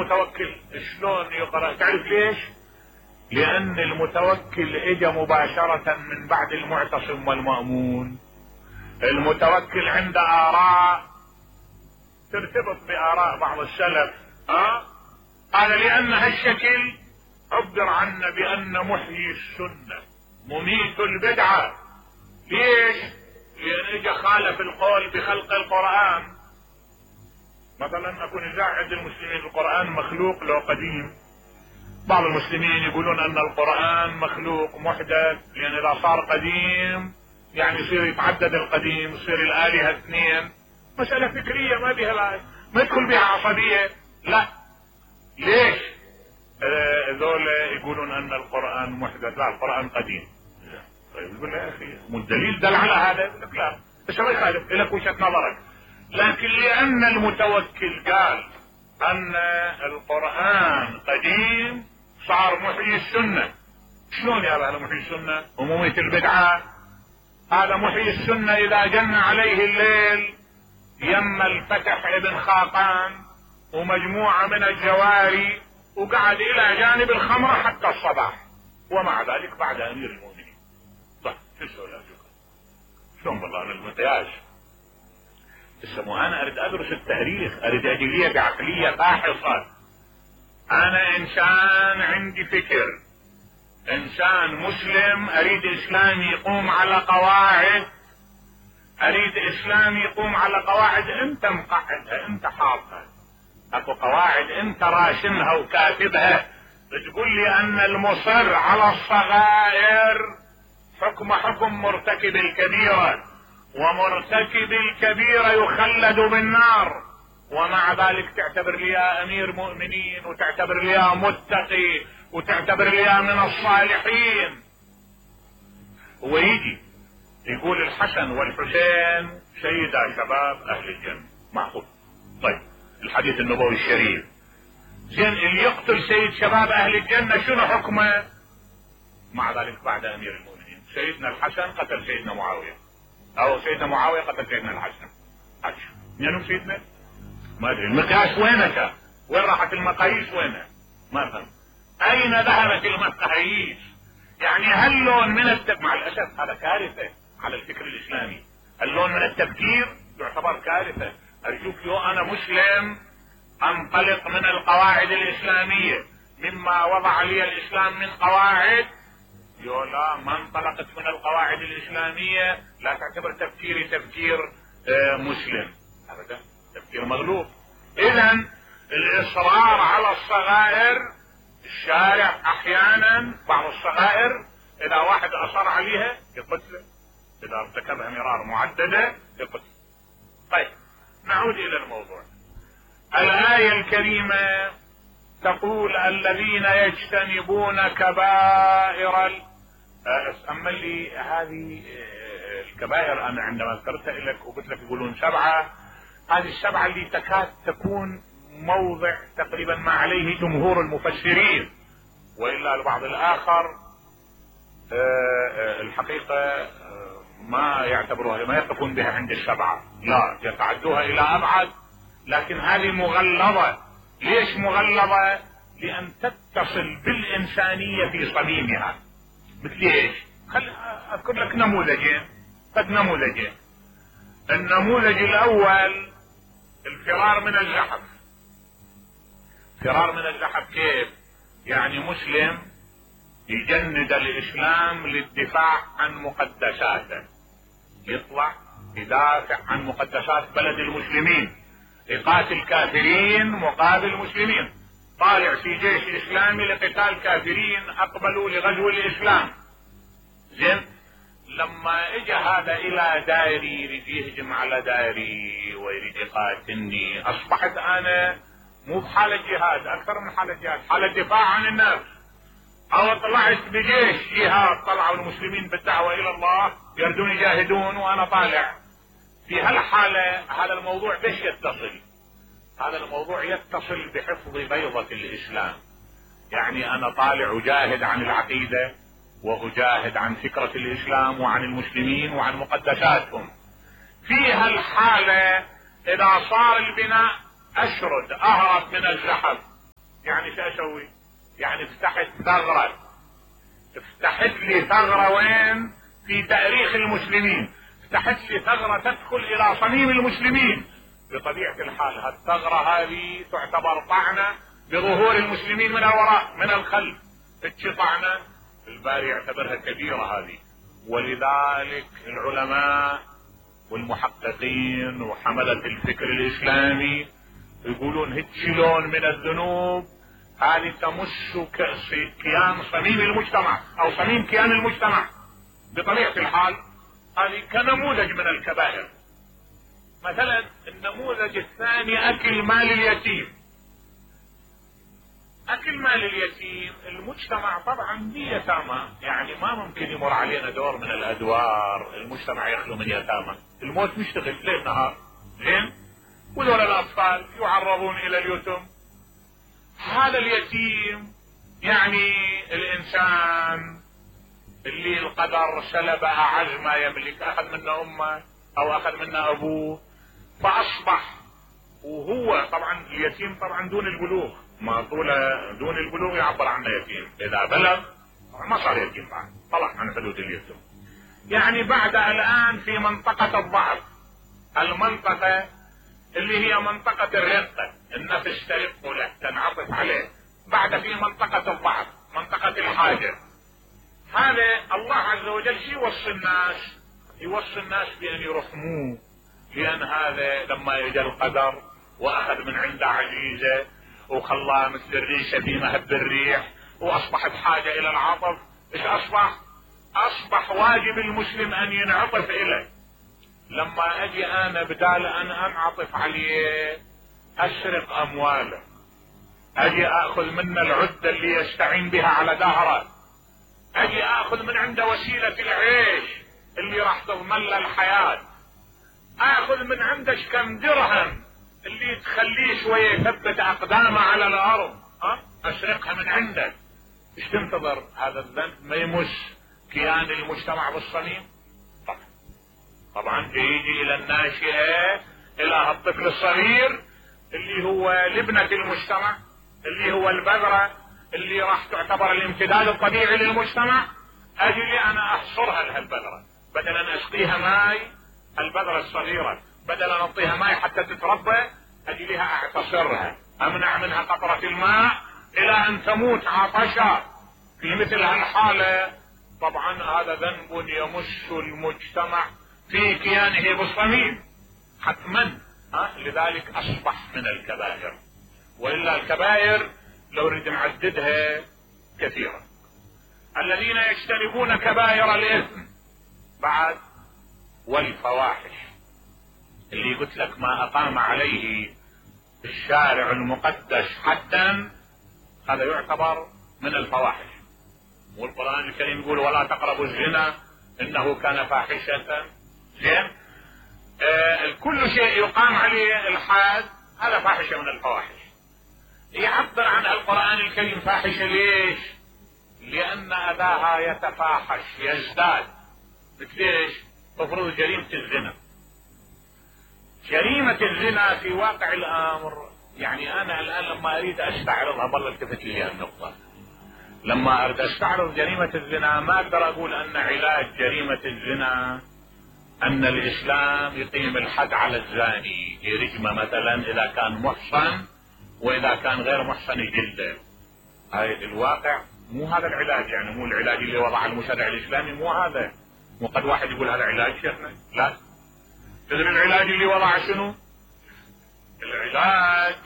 المتوكل شلون يقرأ؟ تعرف ليش؟ لان المتوكل اجى مباشرة من بعد المعتصم والمأمون. المتوكل عنده آراء ترتبط بآراء بعض السلف. قال لان هالشكل عبر عنه بان محيي السنة مميت البدعة. ليش؟ لان اجى خالف القول بخلق القرآن. مثلا اكون اذا عند المسلمين القرآن مخلوق لو قديم، بعض المسلمين يقولون ان القرآن مخلوق محدث، لان اذا صار قديم يعني يصير يتعدد القديم، يصير الآلهة اثنين. مسألة فكرية ما بها ما يدخل بها عصبية. لا، ليش؟ ذول يقولون ان القرآن محدث، لا القرآن قديم. طيب يقول يا اخي والدليل دل على هذا؟ يقول لك لا، بس ما يخالف لك وجهة نظرك. لكن لان المتوكل قال ان القرآن قديم صار محيي السنة. شلون يا هذا محيي السنة ومميت البدعة؟ هذا محيي السنة اذا جن عليه الليل يم الفتح ابن خاقان ومجموعة من الجواري وقعد الى جانب الخمرة حتى الصباح، ومع ذلك بعد امير المؤمنين. طيب شو السؤال؟ شلون بالله انا المتياج انا اريد ادرس التاريخ، اريد اجي لي بعقلية فاحصة. انا انسان عندي فكر، انسان مسلم، اريد اسلام يقوم على قواعد، اريد اسلام يقوم على قواعد انت مقعدها، انت حاطها. اكو قواعد انت راشمها وكاتبها، تقول لي ان المصر على الصغائر حكم مرتكب الكبيرة، ومرتكب الكبيرة يخلد بالنار، ومع ذلك تعتبر لي يا امير مؤمنين، وتعتبر لي يا متقي، وتعتبر لي يا من الصالحين. هو يجي يقول الحسن والحسين سيدا شباب اهل الجنة، معقول؟ طيب الحديث النبوي الشريف، زين اللي يقتل سيد شباب اهل الجنة شنو حكمه؟ مع ذلك بعد امير المؤمنين سيدنا الحسن قتل سيدنا معاوية، او سيدنا معاوية قتل سيدنا الحسن. منو سيدنا؟ ما ادري. المقياس وينك؟ وين راحت المقاييس؟ وينها؟ ما فهم. اين ذهبت المقاييس؟ يعني هاللون من مع الاسف هذا كارثة على الفكر الاسلامي. اللون من التفكير يعتبر كارثة. ارجوك يو انا مسلم انطلق من القواعد الاسلامية، مما وضع لي الاسلام من قواعد، يو لا ما انطلقت من القواعد الاسلامية لا تعتبر تفكيري تفكير مسلم ابدا، تفكير مغلوب. اذا الاصرار على الصغائر، الشارع احيانا بعض الصغائر اذا واحد اصر عليها يقتله، اذا ارتكبها مرار معددة يقتل. طيب نعود الى الموضوع. الآية الكريمة تقول الذين يجتنبون كبائر اما لي هذه الكبائر انا عندما ذكرتها لك وقلت لك يقولون 7، هذه ال7 اللي تكاد تكون موضع تقريبا ما عليه جمهور المفسرين، وإلا البعض الآخر الحقيقة ما يعتبروها، ما يقفون بها عند ال7، لا يتعدوها إلى أبعد. لكن هذه مغلظة. ليش مغلظة؟ لأن تتصل بالإنسانية في صميمها. مثل ايش؟ خل اذكر لك نموذجين، قد نموذجين. النموذج الاول الفرار من الزحف. فرار من الزحف كيف؟ يعني مسلم يجند الاسلام للدفاع عن مقدساته، يطلع يدافع عن مقدسات بلد المسلمين، يقاتل كافرين مقابل مسلمين، طالع في جيش اسلامي لقتال كافرين اقبلوا لغزو الاسلام. زين، لما اجى هذا الى دائري يريد يهجم على دائري ويريد يقاتلني، اصبحت انا مو بحالة جهاد، اكثر من حالة جهاد، حالة دفاع عن النفس. او طلعت بجيش جهاد، طلعوا المسلمين بالدعوة الى الله يردون يجاهدون وانا طالع. في هالحالة هذا الموضوع بيش يتصل؟ هذا الموضوع يتصل بحفظ بيضة الاسلام. يعني انا طالع اجاهد عن العقيدة واجاهد عن فكرة الاسلام وعن المسلمين وعن مقدساتهم. في هالحالة اذا صار البناء اشرد اهرب من الزحف يعني شو اسوي؟ يعني فتحت ثغرة، فتحت لي ثغرة وين؟ في تاريخ المسلمين، فتحت لي ثغرة تدخل الى صميم المسلمين. بطبيعة الحال هالثغرة هذه تعتبر طعنة بظهور المسلمين من الوراء من الخلف، طعنة الباري يعتبرها كبيرة هذه. ولذلك العلماء والمحققين وحملة الفكر الاسلامي يقولون هيك لون من الذنوب هذه تمس كيان صميم المجتمع او صميم كيان المجتمع. بطبيعة الحال هذه كنموذج من الكبائر. مثلا النموذج الثاني اكل مال اليتيم. اكل مال اليتيم، المجتمع طبعا به يتامى، يعني ما ممكن يمر علينا دور من الادوار المجتمع يخلو من يتامى، الموت مشتغل ليل نهار، زين؟ وذول الاطفال يعرضون الى اليتم. هذا اليتيم يعني الانسان اللي القدر سلب اعز ما يملك، اخذ منه امه او اخذ منه ابوه، فاصبح وهو طبعا اليتيم طبعا دون البلوغ، ما طوله دون البلوغ يعبر عنه يتيم، اذا بلغ ما صار يتيم بعد، طلع عن حدود اليتيم. يعني بعد الان في منطقة الضعف، المنطقة اللي هي منطقة الرقة، النفس ترق له تنعطف عليه، بعد في منطقة الضعف، منطقة الحاجة. هذا الله عز وجل يوصي الناس بأن يرحموه، لأن هذا لما يجى القدر وأخذ من عنده عزيزة وخلاه مثل الريشة في مهب الريح وأصبح بحاجة إلى العطف، إيش أصبح واجب المسلم أن ينعطف إليه. لما أجي أنا بدال أن أنعطف عليه أسرق أمواله، أجي أخذ منه العدة اللي يستعين بها على دهره، أجي أخذ من عنده وسيلة العيش اللي راح تضمن له الحياة، أخذ من عنده كم درهم اللي تخليه شوية يثبت أقدامه على الأرض، أسرقها من عنده. إيش تنتظر؟ هذا الذنب ما يمس كيان المجتمع بالصميم؟ طبعا يجي إلى الناشئة، إلى الطفل الصغير اللي هو لبنة المجتمع، اللي هو البذرة اللي راح تعتبر الامتداد الطبيعي للمجتمع. أجي لي أنا أحصرها لهالبذرة، بدل أن أسقيها ماي، البذرة الصغيرة بدل أن أعطيها ماي حتى تتربى، أجي لها أعتصرها، أمنع منها قطرة الماء إلى أن تموت عطشا. في مثل هالحالة طبعا هذا ذنب يمس المجتمع في كيانه بالصميم حتما، لذلك أصبح من الكبائر. وإلا الكبائر لو نريد نعددها كثيرة. الذين يجتنبون كبائر الإثم بعد، والفواحش اللي قلت لك ما أقام عليه الشارع المقدس حدا، هذا يعتبر من الفواحش. والقرآن الكريم يقول ولا تقربوا الزنا إنه كان فاحشة. زين؟ كل شيء يقام عليه الحاد هذا فاحشة من الفواحش. يعبر عن القرآن الكريم فاحشة ليش؟ لأن أذاها يتفاحش يزداد. مثل ايش؟ تفرض جريمة الزنا. جريمة الزنا في واقع الأمر، يعني أنا الآن لما أريد أستعرضها، بالله التفت لي النقطة، لما أريد أستعرض جريمة الزنا ما أقدر أقول أن علاج جريمة الزنا أن الإسلام يقيم الحد على الزاني، يرجمه مثلا إذا كان محصن، وإذا كان غير محصن يجلده. هاي الواقع مو هذا العلاج، يعني مو العلاج اللي وضع المشرع الإسلامي، مو هذا. مو قد واحد يقول هذا علاج شيخنا، لا. تدري العلاج اللي وضع شنو؟ العلاج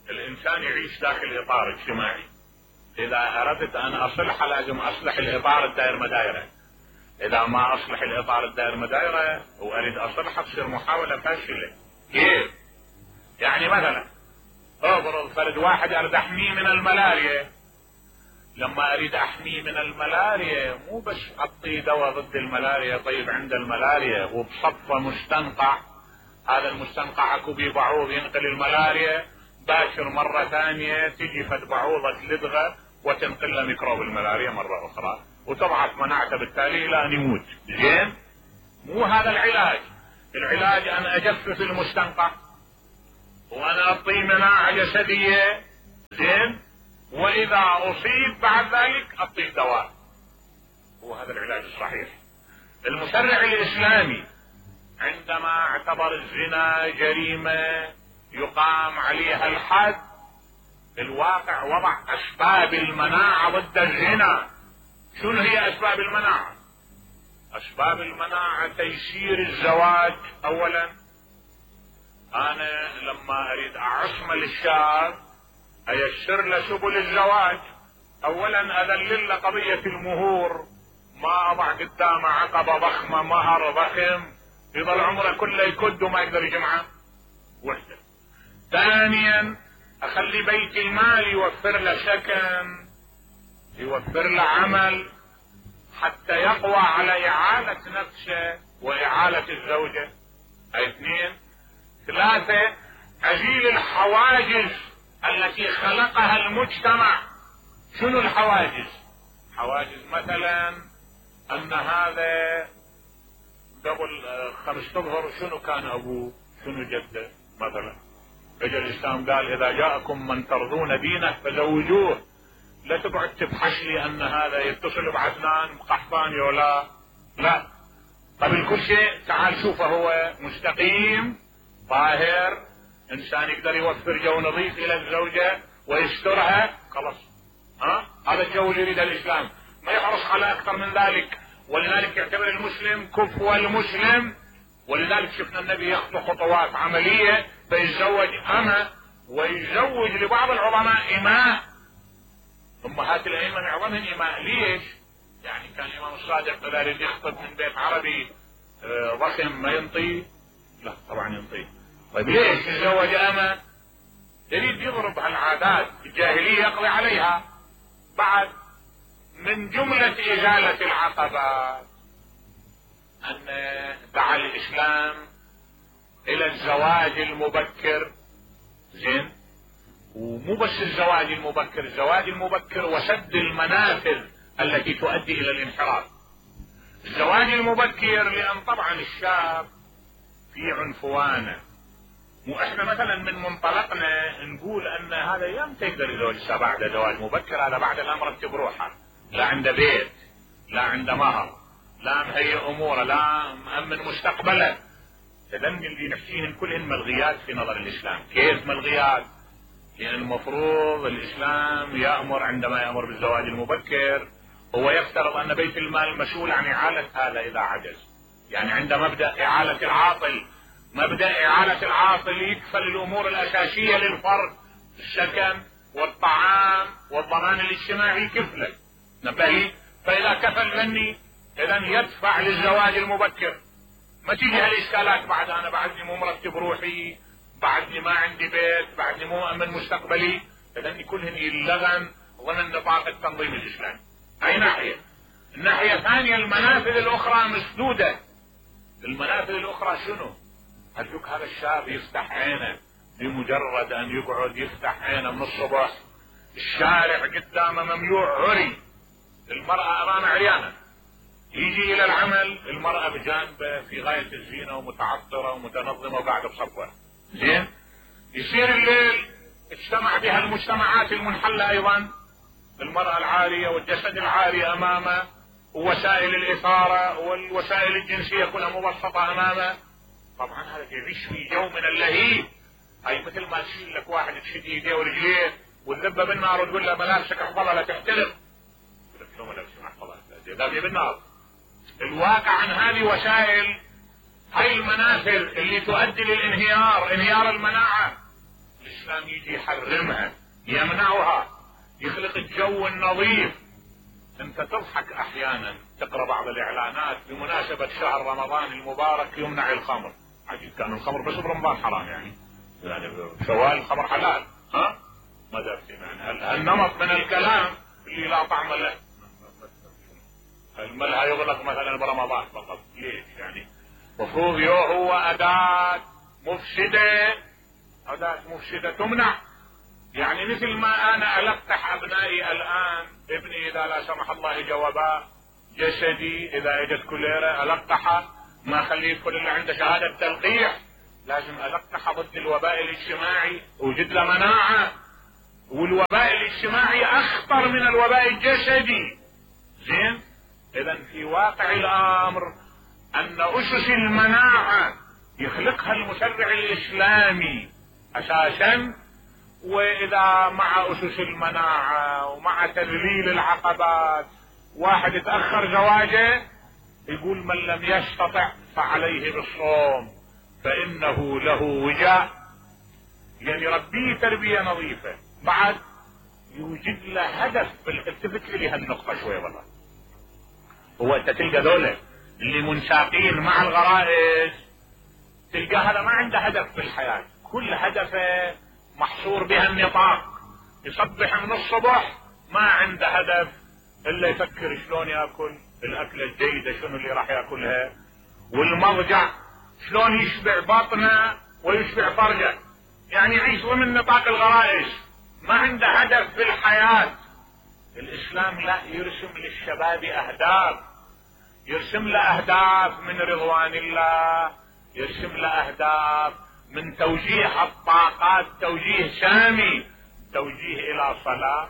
الإنسان يعيش داخل إطار اجتماعي. إذا أردت أن أصلح لازم أصلح الإطار الدائر مدايرة. إذا ما أصلح الإطار الدائر مدايرة وأريد أصلحها تصير محاولة فاشلة. كيف؟ يعني مثلا أفرض فرد واحد أريد أحميه من الملاريا. لما أريد أحميه من الملاريا مو بس أعطيه دواء ضد الملاريا، طيب عند الملاريا وبصفة مستنقع، هذا المستنقع اكو بيه بعوض ينقل الملاريا، باشر مرة ثانية تجي فد بعوضة لدغة وتنقل له ميكروب الملاريا مرة أخرى وتضعف مناعته بالتالي إلى أن يموت. زين؟ مو هذا العلاج. العلاج أن أجفف المستنقع وأنا أعطيه مناعة جسدية، زين، واذا اصيب بعد ذلك اعطيه دواء. هو هذا العلاج الصحيح. المشرع الاسلامي عندما اعتبر الزنا جريمة يقام عليها الحد، الواقع وضع اسباب المناعة ضد الزنا. شنو هي اسباب المناعة؟ اسباب المناعة تيسير الزواج. اولا انا لما اريد اعصم للشاب ايسر له سبل الزواج. اولا اذلل له قضية المهور، ما اضع قدامه عقبة ضخمة مهر ضخم يظل عمره كله يكد وما يقدر يجمعه. وحدة. ثانيا اخلي بيت المال يوفر له سكن، يوفر له عمل حتى يقوى على اعالة نفسه واعالة الزوجة. اثنين. ثلاثة ازيل الحواجز التي خلقها المجتمع. شنو الحواجز؟ حواجز مثلا ان هذا قبل 5 اشهر شنو كان ابوه، شنو جده مثلا. اجى الاسلام قال اذا جاءكم من ترضون دينه فزوجوه. لا تقعد تبحث لي ان هذا يتصل بعدنان بقحطاني ولا لا. قبل كل شيء تعال شوفه هو مستقيم طاهر، انسان يقدر يوفر جو نظيف الى الزوجة ويسترها، خلاص. هذا الجو اللي يريده الاسلام، ما يحرص على اكثر من ذلك. ولذلك يعتبر المسلم كفو المسلم. ولذلك شفنا النبي يخطو خطوات عملية فيتزوج أمة ويزوج لبعض العظماء إماء. أمهات الأئمة معظمهم إماء. ليش؟ يعني كان الإمام الصادق إذا يريد يخطب من بيت عربي ضخم ما ينطي؟ لا طبعا ينطي. طيب ليش يتزوج أمة؟ يريد يضرب هالعادات الجاهلية يقضي عليها. بعد من جملة إزالة العقبات أن دعا الإسلام إلى الزواج المبكر. زين؟ ومو بس الزواج المبكر، الزواج المبكر وسد المنافذ التي تؤدي إلى الانحراف. الزواج المبكر لأن طبعا الشاب في عنفوانه، واحنا مثلا من منطلقنا نقول ان هذا يمتى يقدر يتزوج بعد زواج مبكر؟ هذا بعد لا مرتب روحه، لا عنده بيت، لا عنده مهر، لا مهيئ اموره، لا مأمن مستقبله. تدن اللي نحكيهن كلهن ملغيات في نظر الاسلام. كيف ملغيات؟ لان المفروض الاسلام يأمر عندما يأمر بالزواج المبكر هو يفترض ان بيت المال مسؤول عن اعالة هذا اذا عجز. يعني عند مبدأ اعالة العاطل، مبدأ اعالة العاطل يكفل الامور الاساسية للفرد، السكن والطعام والضمان الاجتماعي كفله. نبهي. فاذا كفل مني اذا يدفع للزواج المبكر. ما تيجي هالاشكالات بعد انا بعدني مو مرتب روحي، بعدني ما عندي بيت، بعدني مو مؤمن مستقبلي. اذا كلهن يلغن ضمن نطاق التنظيم الاسلامي. اي ناحية. الناحية الثانية المنافذ الاخرى مسدودة. المنافذ الاخرى شنو؟ ارجوك هذا الشاب يفتح عينه بمجرد ان يقعد يفتح عينه من الصبح الشارع قدامه مملوء عري، المرأة امامه عريانة، يجي الى العمل المرأة بجانبه في غاية الزينة ومتعطرة ومتنظمة وقاعدة بصفوة. زين؟ يصير الليل اجتمع بها المجتمعات المنحلة ايضا، المرأة العارية والجسد العاري امامه ووسائل الاثارة والوسائل الجنسية كلها مبسطة امامه. طبعا هذا يعيش في جو من اللهيب. هاي مثل ما تشيل لك واحد تشد ايديه ورجليه وتذبه بالنار وتقول له ملابسك احفظها لا تحترق. يقول لك شو ملابسك احفظها؟ ذابيه بالنار. الواقع عن هذه وسائل، هاي المنافذ اللي تؤدي للانهيار، انهيار المناعة، الاسلام يجي يحرمها، يمنعها، يخلق الجو النظيف. انت تضحك احيانا تقرأ بعض الاعلانات بمناسبة شهر رمضان المبارك يمنع الخمر. عجيب، كان الخمر بس برمضان حرام يعني شوال الخمر حلال. ما درت يعني النمط من الكلام اللي لا طعم له. الملها يغلق مثلا برمضان فقط. ليش يعني؟ مفروض هو اداة مفسدة، اداة مفسدة تمنع. يعني مثل ما انا القح ابنائي الان، ابني اذا لا سمح الله جوابا جسدي اذا اجت كوليرا القحه، ما اخليه يدخل الا عنده شهادة تلقيح، لازم القحه ضد الوباء الاجتماعي، وجد له مناعة. والوباء الاجتماعي اخطر من الوباء الجسدي. زين، اذا في واقع الامر ان اسس المناعة يخلقها المشرع الاسلامي اساسا، واذا مع اسس المناعة ومع تذليل العقبات واحد يتأخر زواجه، يقول من لم يستطع فعليه بالصوم فانه له وجاء، يعني يربيه تربية نظيفة. بعد يوجد له هدف. التفت لي هالنقطة شوي والله. هو انت تلقى ذولا اللي منساقين مع الغرائز، تلقى هذا ما عنده هدف في الحياة، كل هدفه محصور بها النطاق. يصبح من الصبح ما عنده هدف الا يفكر شلون ياكل الاكلة الجيدة، شنو اللي راح ياكلها، والمضجع شلون يشبع بطنه ويشبع فرجه، يعني يعيش ضمن نطاق الغرائز، ما عنده هدف في الحياة. الاسلام لا، يرسم للشباب اهداف، يرسم له اهداف من رضوان الله، يرسم له اهداف من توجيه الطاقات توجيه سامي، توجيه الى صلاة،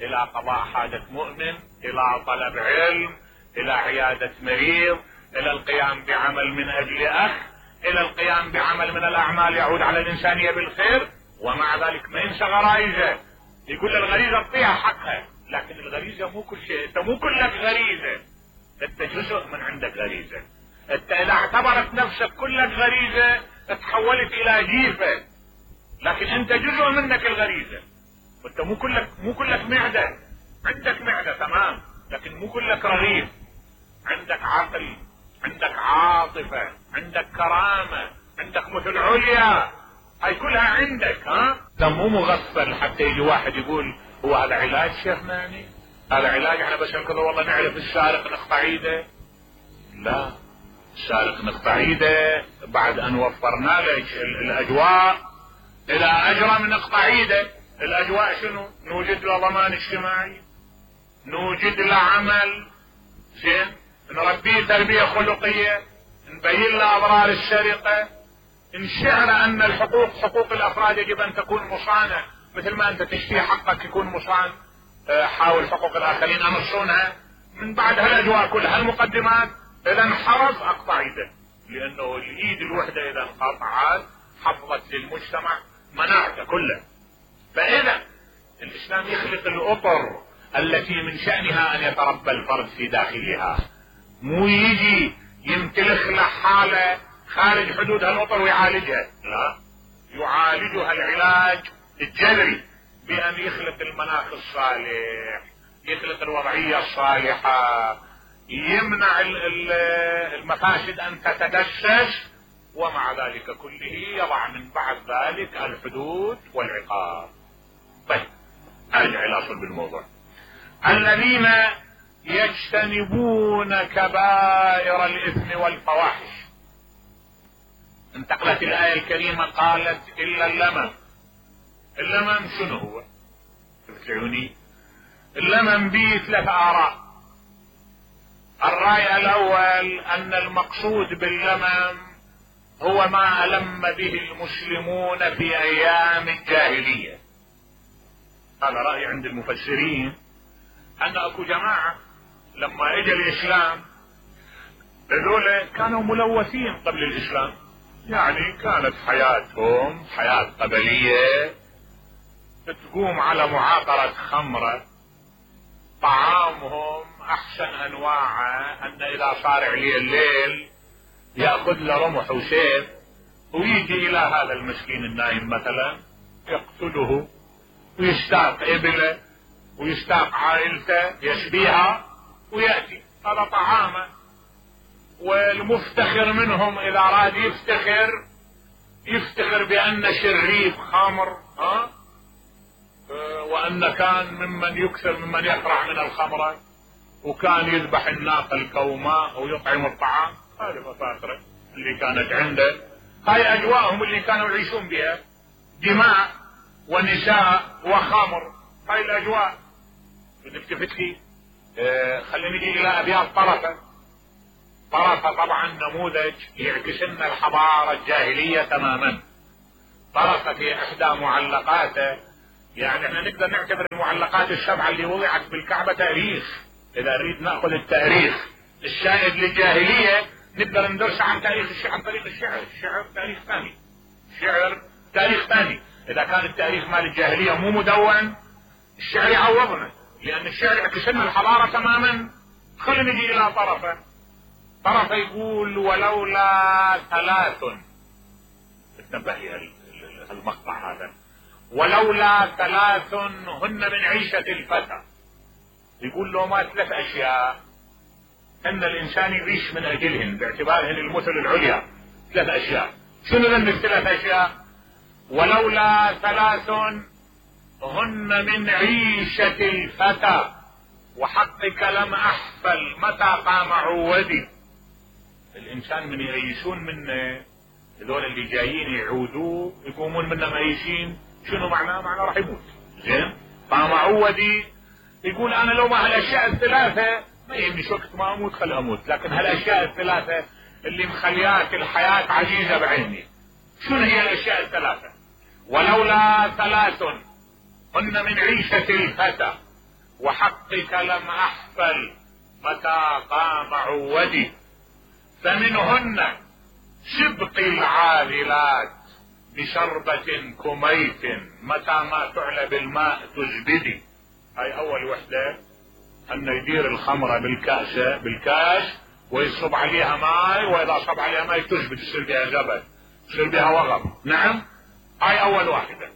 الى قضاء حاجة مؤمن، الى طلب علم، الى عيادة مريض، الى القيام بعمل من اجل اخ، الى القيام بعمل من الاعمال يعود على الانسانية بالخير. ومع ذلك ما ينسى غرائزه، يقول الغريزة اعطيها حقها، لكن الغريزة مو كل شيء، انت مو كلك غريزة، انت جزء من عندك غريزة. انت اذا اعتبرت نفسك كلك غريزة تحولت الى جيفة، لكن انت جزء منك الغريزة. وانت مو كلك معدة، عندك معدة تمام، لكن مو كلك رغيف، عندك عقل، عندك عاطفة، عندك كرامة، عندك مثل عليا، هاي كلها عندك. ده مو مغفل حتى يجي واحد يقول هو هذا علاج شيخنا، يعني هذا علاج احنا بس كذا والله نعرف السارق نقطع ايده. لا، السارق نقطع ايده بعد ان وفرنا له الاجواء. اذا اجرم نقطع ايده، الاجواء شنو؟ نوجد له ضمان اجتماعي، نوجد له عمل زين، نربيه تربية خلقية، نبين له اضرار السرقة، نشعر ان الحقوق حقوق الافراد يجب ان تكون مصانة، مثل ما انت تشتري حقك يكون مصان، حاول حقوق الاخرين امصونها. من بعد هالاجواء كلها المقدمات، اذا انحرف اقطع ايده، لانه الايد الوحدة اذا انقطعت حفظت للمجتمع مناعته كله. فاذا الاسلام يخلق الاطر التي من شأنها ان يتربى الفرد في داخلها، مو يجي يمتلخ له حالة خارج حدود هالاطر ويعالجها، لا، يعالجها العلاج الجذري بان يخلق المناخ الصالح، يخلق الوضعية الصالحة، يمنع المفاسد ان تتدسس، ومع ذلك كله يضع من بعد ذلك الحدود والعقاب. طيب ارجع الى صلب الموضوع. الذين يجتنبون كبائر الاثم والفواحش، انتقلت الايه الكريمه قالت الا اللمم. اللمم شنو هو؟ تفتعوني؟ اللمم به 3 آراء. الرأي الاول ان المقصود باللمم هو ما ألم به المسلمون في ايام الجاهلية. هذا رأي عند المفسرين، ان اكو جماعة لما اجى الاسلام هذول كانوا ملوثين قبل الاسلام، يعني كانت حياتهم حياة قبلية تقوم على معاقرة خمرة، طعامهم احسن انواعه ان اذا صار عليه الليل يأخذ له رمح وسيف ويجي الى هذا المسكين النايم مثلا يقتله ويستاق ابله ويستاق عائلته يشبيها ويأتي، هذا طعامه. والمفتخر منهم اذا اراد يفتخر بان شريف خمر، وان كان ممن يكثر ممن يفرح من الخمرة، وكان يذبح الناقة الكوماء ويطعم الطعام. هذه مفاخره اللي كانت عنده، هاي اجواءهم اللي كانوا يعيشون بها، دماء ونساء وخمر، هاي الاجواء. نلتفت لي خلينا نجي الى ابيات طرفة. طرفة طبعا نموذج يعكس لنا الحضارة الجاهلية تماما. طرفة في احدى معلقاته يعني احنا نقدر نعتبر المعلقات السبعة اللي وضعت بالكعبة تاريخ. اذا نريد ناخذ التاريخ الشائد للجاهلية نقدر ندرس عن تاريخ الشعر عن طريق الشعر. الشعر تاريخ ثاني، الشعر تاريخ ثاني. اذا كان التاريخ مال الجاهلية مو مدون الشعر يعوضنا، لان الشعر يعكس لنا الحضارة تماما. خلينا نجي الى طرفه يقول ولولا ثلاث، انتبه لي المقطع هذا، ولولا ثلاث هن من عيشة الفتى. يقول له ما ثلاث اشياء ان الانسان يعيش من اجلهن باعتبارهن المثل العليا. ثلاث اشياء، شنو ذن الثلاث اشياء؟ ولولا ثلاث هن من عيشة الفتى وحقك لم احفل متى قام عودي. الانسان من يعيشون منه هذول اللي جايين يعودوه يقومون منه ميشين، شنو معناه؟ معناه راح يموت. زين، قام عودي يقول انا لو ما هالاشياء الثلاثه ما يهمني وقت ما اموت خل اموت، لكن هالاشياء الثلاثه اللي مخليات الحياه عزيزه بعيني. شنو هي الاشياء الثلاثه؟ ولولا ثلاث هن من عيشه الفتى وحقك لم احفل متى قام عودي. فمنهن سبق العاذلات بشربة كميت متى ما تعلى بالماء تزبدي. هاي اول وحدة، انه يدير الخمرة بالكاس ويصب عليها ماء، واذا صب عليها ماء تزبد يصير بها زبد، يصير بها وغم. نعم، هاي اول واحدة.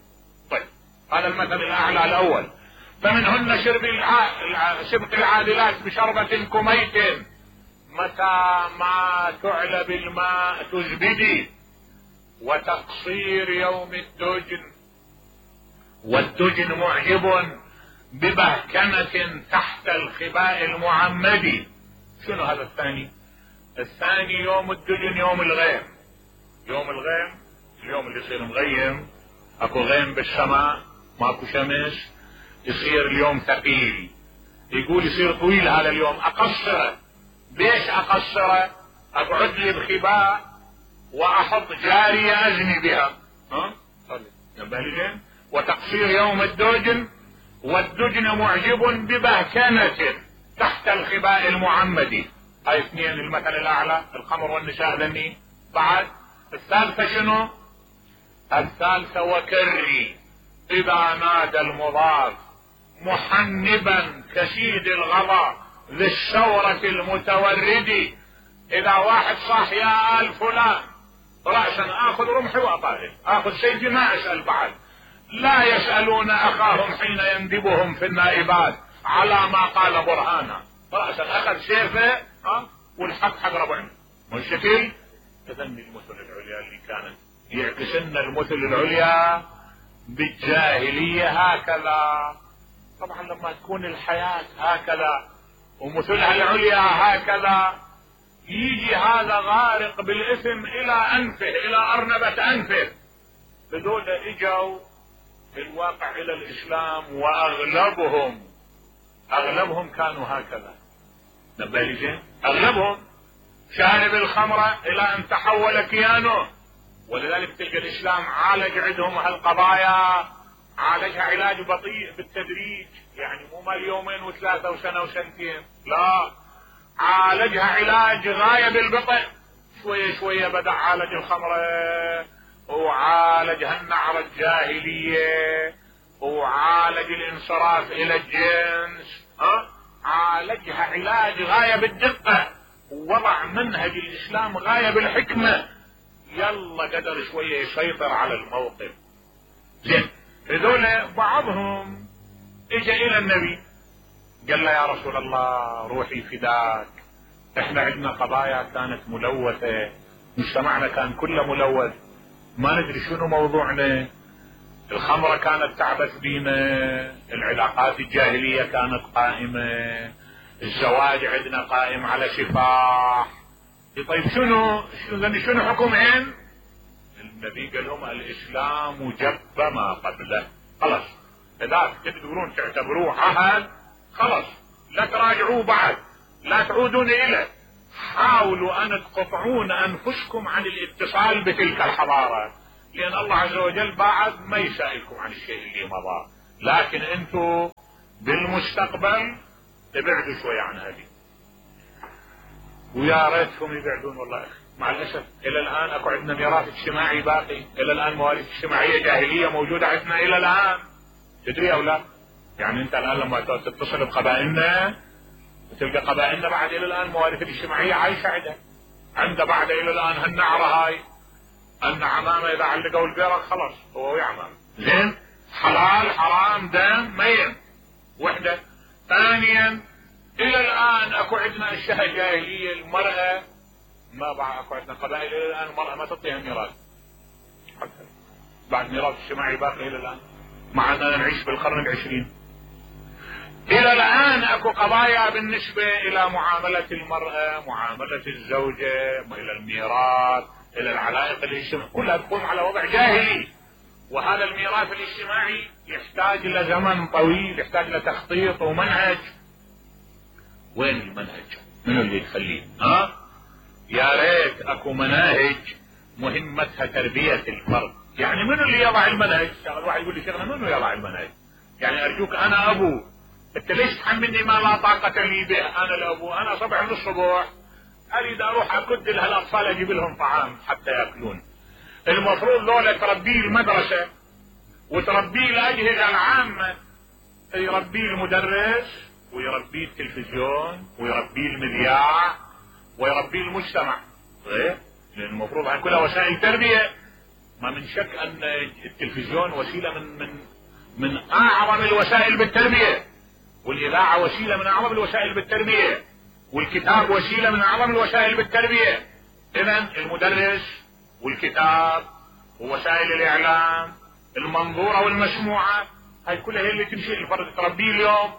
طيب هذا المثل الاعلى الاول. فمنهن سبق العاذلات بشربة كميت متى ما تعلى بالماء تزبدي. وتقصير يوم الدجن والدجن معجب ببهكمة تحت الخباء المعمدي. شنو هذا الثاني؟ الثاني يوم الدجن يوم الغيم. يوم الغيم اليوم اللي يصير مغيم، اكو غيم بالسماء ماكو شمس، يصير اليوم ثقيل. يقول يصير طويل هذا اليوم، اقصره. ليش اقصره؟ اقعد لي بخباء واحط جارية ازني بها. نبه. وتقصير يوم الدجن والدجن معجب ببهكنة تحت الخباء المعمدي. هاي اثنين المثل الاعلى، الخمر والنساء ذني. بعد الثالثة شنو؟ الثالثة وكري اذا نادى المضاف محنبا كسيد الغضا ذي الشورة المتوردي. اذا واحد صاح يا آل فلان رأسا اخذ رمحي واطارد، اخذ سيفي ما اسأل بعد. لا يسألون اخاهم حين يندبهم في النائبات على ما قال برهانا. رأسا اخذ سيفه والحق حق ربعنا والشكل. تذني المثل العليا اللي كانت يعكس لنا المثل العليا بالجاهلية هكذا. طبعا لما تكون الحياة هكذا ومثلها العليا هكذا يجي هذا غارق بالاثم الى انفه، الى ارنبة انفه. هذول اجوا في الواقع الى الاسلام واغلبهم كانوا هكذا. نبالي زين، اغلبهم شارب الخمرة الى ان تحول كيانه. ولذلك تلقى الاسلام عالج عندهم هالقضايا، عالجها علاج بطيء بالتدريج، يعني مو مال يومين وثلاثة وسنة وسنتين، لا، عالجها علاج غاية بالبطء. شوية شوية بدأ عالج الخمرة، وعالج هالنعرة الجاهلية، وعالج الانصراف الى الجنس، عالجها علاج غاية بالدقة، ووضع منهج الاسلام غاية بالحكمة. يلا قدر شوية يسيطر على الموقف. زين، هذول بعضهم اجا الى النبي قال له يا رسول الله روحي فداك، احنا عندنا قضايا كانت ملوثة، مجتمعنا كان كله ملوث، ما ندري شنو موضوعنا. الخمرة كانت تعبث بينا، العلاقات الجاهلية كانت قائمة، الزواج عندنا قائم على سفاح. طيب شنو حكمهن؟ النبي قال لهم الاسلام جب ما قبله. خلاص اذا تقدرون تعتبروه عهد خلاص لا تراجعوه بعد، لا تعودون اليه. حاولوا ان تقطعون انفسكم عن الاتصال بتلك الحضارة، لان الله عز وجل بعد ما يسائلكم عن الشيء اللي مضى. لكن انتم بالمستقبل ابعدوا شوي عن هذه، ويا ريتهم يبعدون والله يا اخي. مع الاسف الى الان اكو عندنا ميراث اجتماعي باقي، الى الان مواريث اجتماعيه جاهليه موجوده عندنا الى الان. تدري او لا؟ يعني انت الان لما تتصل بقبائلنا تلقى قبائلنا بعد الى الان مواريث الاجتماعيه عايشه عنده بعد الى الان هالنعره هاي، ان عمامه اذا علقوا البيرق خلاص هو ويا عمامه. زين، حلال حرام دم ميت وحده. ثانيا الى الان اكو عندنا اشياء جاهليه، المراه ما بعد اكو عندنا قبائل الى الان المراه ما تعطيها ميراث، حتى بعد ميراث اجتماعي باقي الى الان، مع اننا نعيش بالقرن العشرين. الى الان اكو قضايا بالنسبه الى معامله المراه، معامله الزوجه، الى الميراث، الى العلائق الاجتماعيه، كلها تقوم على وضع جاهلي. وهذا الميراث الاجتماعي يحتاج الى زمن طويل، يحتاج الى تخطيط ومنهج. وين المنهج؟ منو اللي يخليه؟ يا ريت اكو مناهج مهمتها تربيه الفرد. يعني منو اللي يضع المنهج؟ الواحد يقول لي شيخنا منو يضع المنهج؟ يعني ارجوك انا ابو، انت ليش تحملني ما لا طاقه لي به؟ انا الابو، انا صبح من الصبح اريد اروح اكد لهالاطفال اجيب لهم طعام حتى ياكلون. المفروض لولا تربيه المدرسه وتربيه الاجهزه العامه، يربيه المدرس ويربيه التلفزيون ويربيه المذياع ويربيه المجتمع. لان المفروض هاي كلها وسائل تربيه. ما من شك ان التلفزيون وسيله من اعظم الوسائل بالتربيه، والاذاعه وسيله من اعظم الوسائل بالتربيه، والكتاب وسيله من اعظم الوسائل بالتربيه. اذا المدرس والكتاب ووسائل الاعلام المنظوره والمسموعه هاي كلها هي اللي تمشي الفرد تربيه اليوم.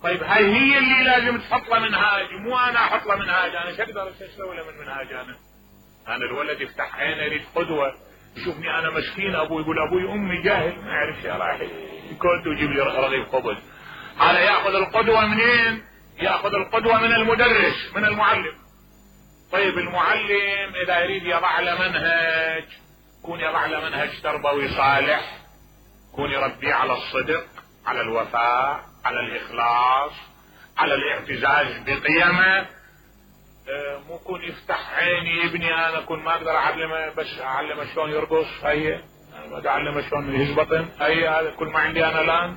طيب هاي هي اللي لازم تحط له منهاج، مو انا احط له منهاج. انا شو اقدر اسوي له من منهاج؟ انا الولد يفتح عينه يريد قدوه، يشوفني انا مسكين، ابوي يقول ابوي امي جاهل ما يعرف شيء، راح كنت ويجيب لي رغيف خبز. هذا ياخذ القدوه منين؟ ياخذ القدوه من المدرس، من المعلم. طيب المعلم اذا يريد يضع له منهج، يكون يضع له منهج تربوي صالح، يكون يربيه على الصدق، على الوفاء، على الاخلاص، على الاعتزاز بقيمه. مو يكون يفتح عيني ابني انا كون ما اقدر اعلمه، بس اعلمه شلون يرقص، هي ما اعلمه شلون يهزبطن، هي هذا كل ما عندي انا الان.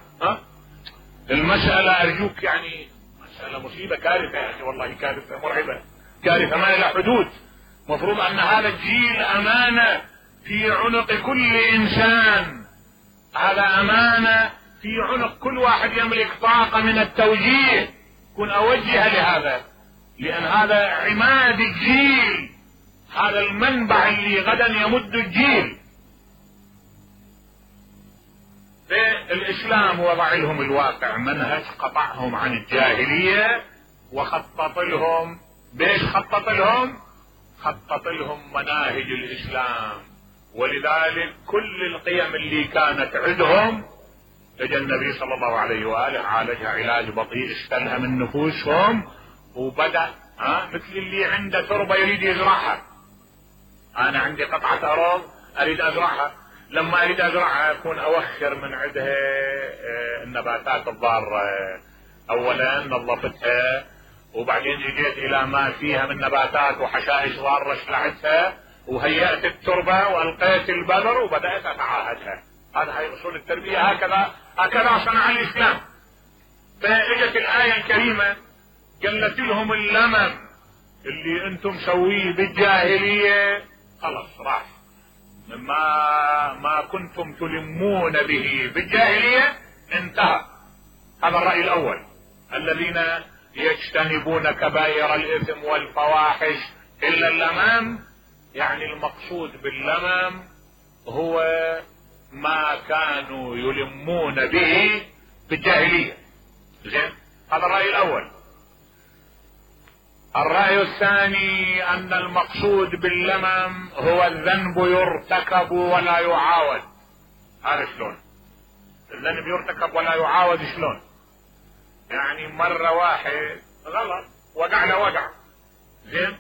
المساله ارجوك يعني مساله مصيبه، كارثه يا اخي، والله كارثه مرعبه، كارثه ما لها حدود. مفروض ان هذا الجيل امانه في عنق كل انسان، هذا امانه في عنق كل واحد يملك طاقه من التوجيه، كن اوجه لهذا، لان هذا عماد الجيل، هذا المنبع اللي غدا يمد الجيل. الاسلام وضع لهم الواقع منهج، قطعهم عن الجاهليه وخطط لهم. بيش خطط لهم؟ خطط لهم مناهج الاسلام. ولذلك كل القيم اللي كانت عندهم اجى النبي صلى الله عليه واله عالجها علاج بطيء، استلهم من نفوسهم وبدأ مثل اللي عنده تربه يريد يزرعها. انا عندي قطعه ارض اريد ازرعها، لما اريد ازرعها اكون اوخر من عندها النباتات الضاره، اولا نظفتها، وبعدين اجيت الى ما فيها من نباتات وحشائش ضاره شلعتها، وهيأت التربه والقيت البذر وبدات اتعاهدها. هذا هي اصول التربيه، هكذا صنع الاسلام. فاجت الايه الكريمه قالت لهم اللمم اللي انتم مسويه بالجاهليه خلاص راح، ما كنتم تلمون به بالجاهليه انتهى. هذا الرأي الاول. الذين يجتنبون كبائر الاثم والفواحش الا اللمم، يعني المقصود باللمم هو ما كانوا يلمون به بالجاهليه. زين، هذا الرأي الاول. الرأي الثاني ان المقصود باللمم هو الذنب يرتكب ولا يعاود. هذا شلون؟ الذنب يرتكب ولا يعاود شلون؟ يعني مرة واحد غلط وقع له وقع، زين،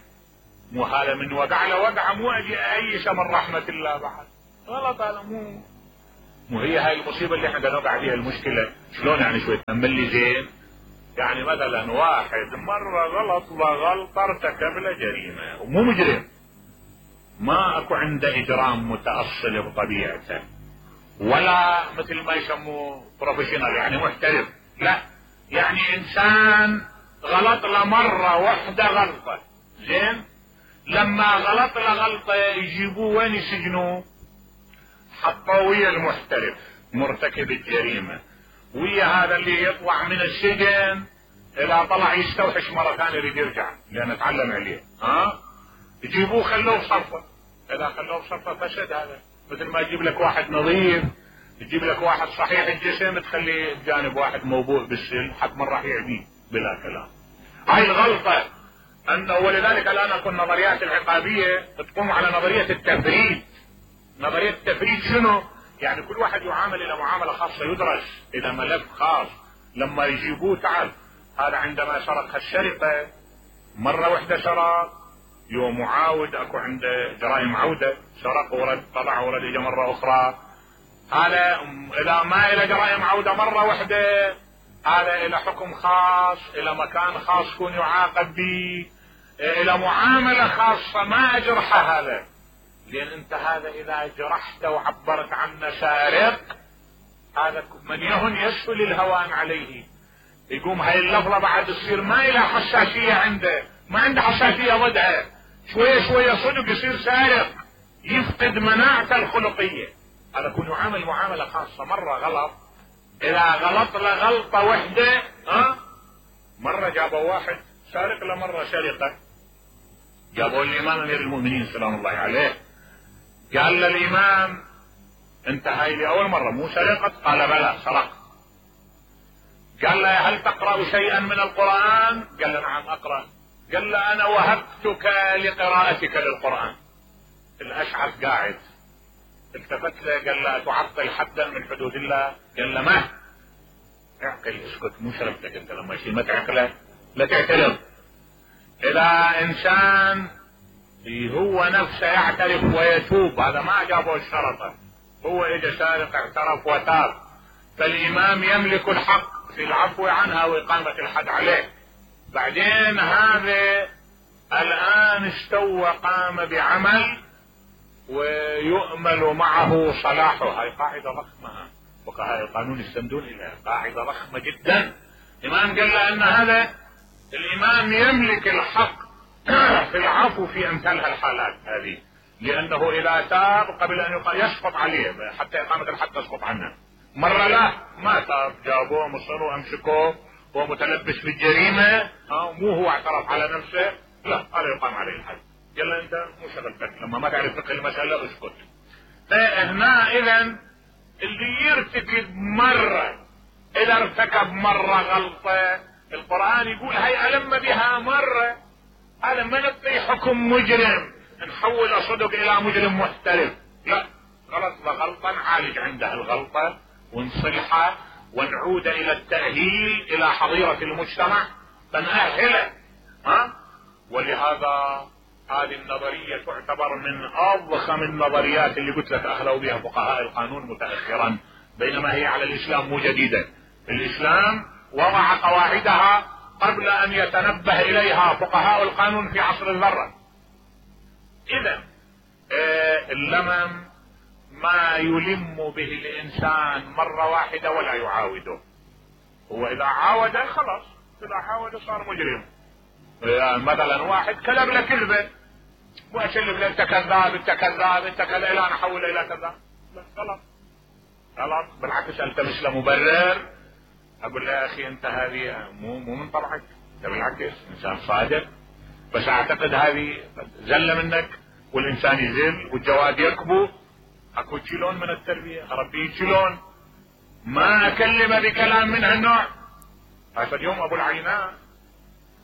مو هذا من وقع له وقع مو اجي ايش من رحمة الله بعد، غلط هذا، مو مو هي هاي المصيبة اللي احنا قاعدين نوقع فيها المشكلة. شلون يعني شوي تأمل لي زين؟ يعني مثلا واحد مرة غلط وغلطة ارتكب له جريمة ومو مجرم، ما اكو عنده اجرام متأصل بطبيعته ولا مثل ما يسموه بروفيشنال يعني محترف، لا، يعني انسان غلط له مرة واحدة غلطة، زين، لما غلط له غلطة يجيبوه وين يسجنوه؟ حطوه ويا المحترف مرتكب الجريمة، ويا هذا اللي يطلع من السجن اذا طلع يستوحش مرة ثانية يريد يرجع لان تعلم عليه، يجيبوه خلوه بصفة، اذا خلوه بصفة فسد هذا. مثل ما يجيب لك واحد نظيف، يجيب لك واحد صحيح الجسم تخليه بجانب واحد موبوء بالسل حتى من راح يعديه بلا كلام. هاي الغلطة انه، ولذلك الان اكو النظريات العقابية تقوم على نظرية التفريد. نظرية التفريد شنو؟ يعني كل واحد يعامل الى معاملة خاصة، يدرس الى ملف خاص. لما يجيبوه تعال هذا عندما سرق السرقة مرة واحدة سرق، يوم معاود اكو عنده جرائم عودة، سرق ورد طلع ورد اجى مرة اخرى، هذا اذا ما الى جرائم عودة مرة واحدة هذا الى حكم خاص، الى مكان خاص يكون يعاقب به، الى معاملة خاصة ما اجرحه هذا. لان انت هذا اذا جرحته وعبرت عنه سارق، هذا من يهن يسهل الهوان عليه، يقوم هاي اللفظة بعد تصير ما إلى حساسية عنده، ما عنده حساسية ضدها، شوية شوية صدق يصير سارق، يفقد مناعته الخلقية. هذا يكون يعامل معاملة خاصة. مرة غلط، إذا غلط له غلطة وحدة، مرة جابوا واحد سارق له مرة سرقة، جابوا الإمام أمير المؤمنين سلام الله عليه، قال للإمام أنت هاي لأول مرة مو سرقت؟ قال بلى سرقت. قال له هل تقرأ شيئا من القرآن؟ قال له نعم أقرأ. قال له أنا وهبتك لقراءتك للقرآن. الأشعث قاعد التفت له قال له تعطل حدا من حدود الله؟ قال له ما اعقل، اسكت، مو شربتك انت لما يصير ما تعقله لا تعترف. إذا إنسان هو نفسه يعترف ويتوب، هذا ما جابه الشرطة، هو اجى سارق اعترف وتاب، فالإمام يملك الحق في العفو عنها وإقامة الحد عليه. بعدين هذا الآن استوى قام بعمل ويؤمل معه صلاحه. هاي قاعدة ضخمة، فقهاء القانون يستندون إليها، قاعدة ضخمة جدا. الإمام قال له أن هذا الإمام يملك الحق في العفو في أمثال الحالات هذه، لأنه إذا تاب قبل أن يسقط عليه حتى إقامة الحد تسقط عنه. مرة لا ما تاب، جابوه مصروا أمسكوه هو متلبس بالجريمة، مو هو اعترف على نفسه، لا هذا يقام عليه الحد. يلا أنت مو شغلتك، لما ما تعرف فقه المسألة اسكت. فهنا إذا اللي يرتكب مرة، إذا ارتكب مرة غلطة، القرآن يقول هي ألم بها مرة، هذا ما نعطي حكم مجرم نحول صدق إلى مجرم محترف، لا، غلط غلطة نعالج عنده الغلطة ونصلحه ونعود إلى التأهيل إلى حظيرة المجتمع فنأهله. ولهذا هذه النظرية تعتبر من أضخم النظريات اللي قلت لك أخذوا بها فقهاء القانون متأخرا، بينما هي على الإسلام مو جديدة. الإسلام وضع قواعدها قبل أن يتنبه إليها فقهاء القانون في عصر الذرة. إذا اللمم ما يلم به الإنسان مرة واحدة ولا يعاوده، هو إذا عاود خلاص، إذا عاود صار مجرم. مثلا واحد كذب له كذبة وأسلف له أنت كذاب أنت كذاب أنت كذا إلى نحول إلى كذا، غلط غلط، بالعكس التمس له مبرر، أقول له يا أخي أنت هذه مو من طبعك، أنت بالعكس إنسان صادق، بس أعتقد هذه زلة منك، والإنسان يزل والجواد يكبو، اكو شلون من التربية اربيه شلون، ما اكلمه بكلام من هالنوع. هذا اليوم